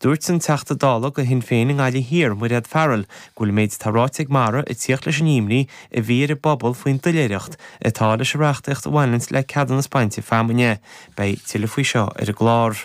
Dúirt an Teachta Dála do Shinn Féin i nGaillimh Thiar, Mairéad Farrell, go bhfuil an méid atá ráite ag Mara ag tíocht leis an imní a bhí ar an bpobal faoin doiléireacht atá leis an reachtaíocht a bhaineanns le ceadúnas bainte feamainne. Beidh tuilleadh faoi seo ar an gclár.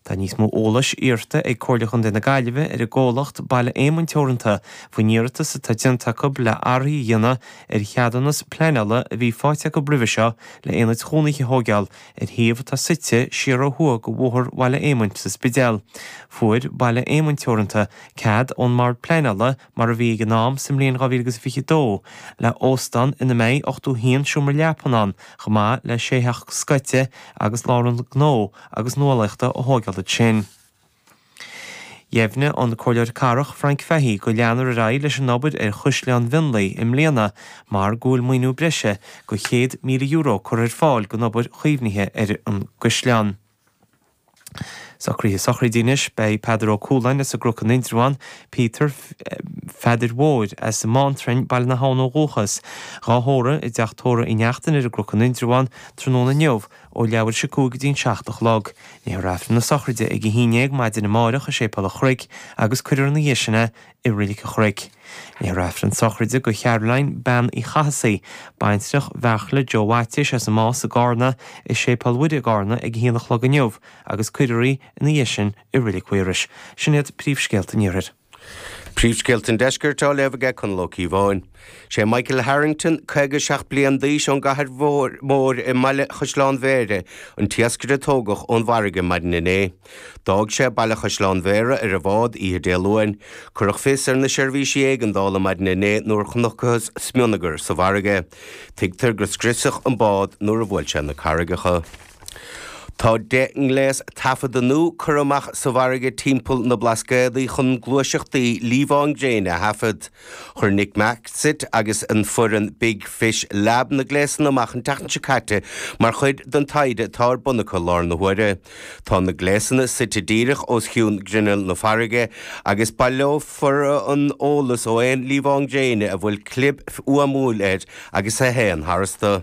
Tá níos mó eolais iarrta ag Comhairle Chontae na Gaillimhe ar an gcomhlacht Baile Éamoinn Teoranta faoin iarratas atá déanta acu le athruithe a dhéanamh ar cheadúnas pleanála a bhí faighte acu roimhe seo le aonaid chónaithe a thóigeáil ar shuíomh atá suite siar ó thuaidh de Bhóthar Bhaile Éamoinn sa Spidéal. Fuair Baile Éamoinn Teoranta cead ón mBord Pleanála, mar a bhí ag an am sa mbliain 2022, le óstán ina mbeidh 81 seomra leapan ann, chomh maith le sé theach scoite agus lárionad gnó agus nuálaíochta a thóigeáil ansin. Dheimhnigh an Comhairleoir Cathrach Frank Fahey go leanfar ar aghaidh leis an obair ar Chaisleán Mhionlaigh i mbliana mar go bhfuil maoiniú breise de €100,000 curtha ar fáil don obair chaomhnaithe ar an gcaisleán. Socruithe sochraide anois, beidh Peadar Ó Cualáin as an gCnoc in Indreabhán, Peter Pheadair Mhóir as an mBántrainn, Baile na hAbhann ó dhúchas, dhá thórramh i dTeach Tórraimh Uí Neachtain ar an gCnoc in Indreabhán tráthnóna inniu Ó leathuair tar éis 5 go dtí an 7 a chlog. Léifear Aifreann na sochraide ag 11 maidin amáireach i Séipéal an Chnoic agus cuirfear ina dhiaidh sin é i Reilig an Chnoic. Léifear Aifreann sochraide do Charoline Bean Uí Chathasaigh, baintreach Bheartla Joe Mhaitiais as an Más i gCarna, i Séipéal Mhuire i gCarna ag 1 a chlog inniu agus cuirfear í ina dhiaidh sin i Reilig Mhaorais. Sin iad príomhscéalta an Iarthair. Príomhscéalta an Deiscirt á léamh aige Conall Ó Cíobháin. Sé Michael Harrington, 57 bliain d'aois ón gCathair Mhór i mBaile Chaisleán Bhéarra, an t-iascaire a tógadh ón bhfarraige maidin inné. D'fhág sé Baile Chaisleán Bhéarra ar an bhád oíche Dé Luain. Cuireadh fios ar na seirbhísí éigeandála maidin inné nuair a chonacthas smionagar sa bhfarraige. Tuigtear gur scriosadh an bád nuair a bhuail sé na carraigeacha. Tá 10 ngléas taifeadta nua curtha amach sa bhfarraige timpeall na Blascaodaí chun gluaiseachtaí liamhán gréine a thaifead. Chuir Nick Maxit agus an foireann Big Fish Lab na gléasanna amach an tseachtain seo caite mar chuid den taighde atá ar bun acu i láthair na huaire. Tá na gléasanna suite díreach os cionn ghrinneall na farraige agus baileofar an eolas ó aon liamhán gréine a bhfuil clib fhuaimiúil air agus a théann tharstu.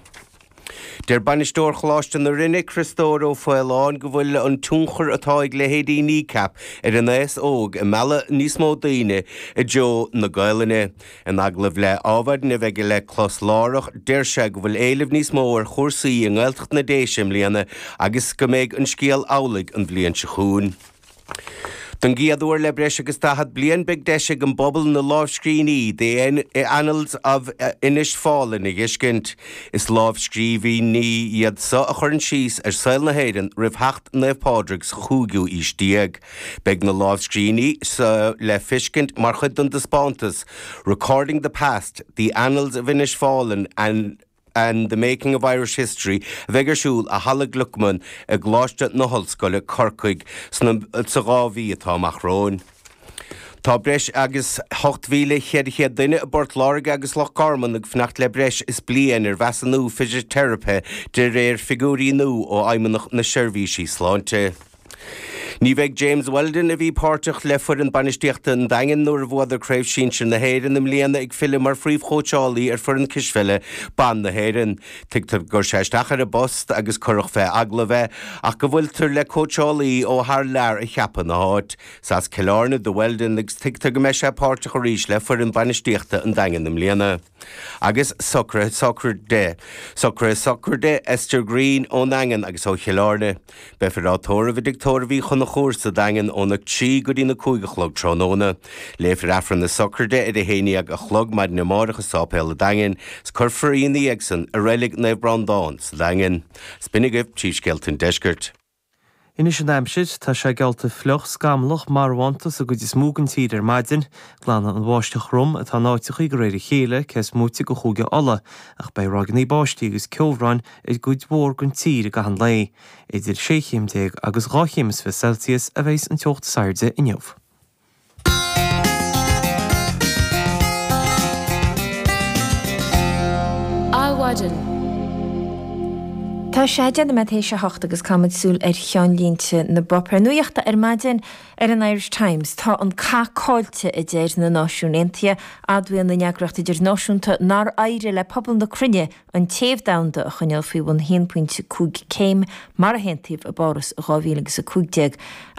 Deir Bainisteoir Choláiste na Rinne, Criostóir Ó Faoláin, go bhfuil an tionchar atá ag leithéidí Kneecap ar an aos óg ag mealladh níos mó daoine i dtreo na Gaelainne. In agallamh le Adhmhaidin a bheidh le clos láithreach, deir sé go bhfuil éileamh níos mó ar chúrsaí i nGaeltacht na Déise i mbliana agus go mbeidh an scéal amhlaidh an bhliain seo chugainn. Don gcéad uair le breis agus 40 bliain beidh deis ag an bpobal na lámhscríbhinní The Annals of Inis Fáilin a dh'fheiscint. Is lámhscríbhinní iad so a chuireann síos ar saol na hÉireann roimh theacht Naomh Pádraig sa chúigiú aois déag. Beidh na lámhscríbhinní so le feiscint mar chuid den dtaispeántas Recording the Past, The Annals of Inis Fáilin and and the Making of Irish History a bheidh ar siúl i Halla Gluckman i gColáiste na hOllscoile, Corcaigh, sna sa 2 mhí atá amach romhainn. Tá breis agus 8,400 duine i bPort Láirge agus Loch Garman ag fanacht le breis is bliain ar mheasúnú fisiteiripe de réir figiúirí nua ó Fheidhmeannacht na Seirbhísí Sláinte. Ní bheidh James Weldon, a bhí páirteach le foireann bainistíochta an Daingin nuair a bhuadar Craobh Sinsir na hÉireann i mbliana, ag filleadh mar phríomhchóitseálaí ar foireann cispheile ban na hÉireann. Tuigtear gur chuir sé isteach ar an bpost agus cuireadh fé agallamh é ach go bhfuiltear le cóitseálaí ó thar lear a cheapadh ina áit. Is as Cill Airne do Weldon agus tuigtear go mbeidh sé páirteach arís le foireann bainistíochta an Daingin i mbliana. Agus socruithe sochraide. Socruithe sochraide Esther Greene ón nDaingean agus ó Chill Airne. Beifear á tórramh i dTigh Tórraimh Uí Chonchúir sa Daingean óna 3 go dtí na 5 a chlog tráthnóna. Léifear Aifreann na sochraide ar a 11 a chlog maidin amárach i Sáipéal an Daingin 's cuirfear í ina dhiaidh san i Reilig Naomh Breandán sa Daingean. 'S b'in agaibh príomhscéalta an deiscirt. Anois an aimsir, tá sé geallta fliuch, scamallach, marbhánta sa gcuid is mó den tír ar maidin. Glanfaidh an bháisteach throm atá in áiteachaí de réir a chéile, cé is móite de Chúige Uladh, ach beidh ráigeanna báistí agus ceobhráin ar gcuid mhór den tír i gcaitheamh an lae. Idir 16 chéim agus 2 chéim is 20 Celsius a bheidhs an teocht is airde inniu. Adhmhaidin. Tá sé 10 nóiméad théis a hocht agus caithfimid súil ar cheannlínte na bpáipéar nuachta ar maidin ar an Irish Times. Tá an cath caillte, a deir na Náisiúin Aontaithe. Admhaíonn an eagraíocht idirnáisiúnta nár éirigh le pobal na cruinne an téamh domhanda a choinneáil faoi bhun 1.5 céim mar a haontaíodh i bPáras i 2015.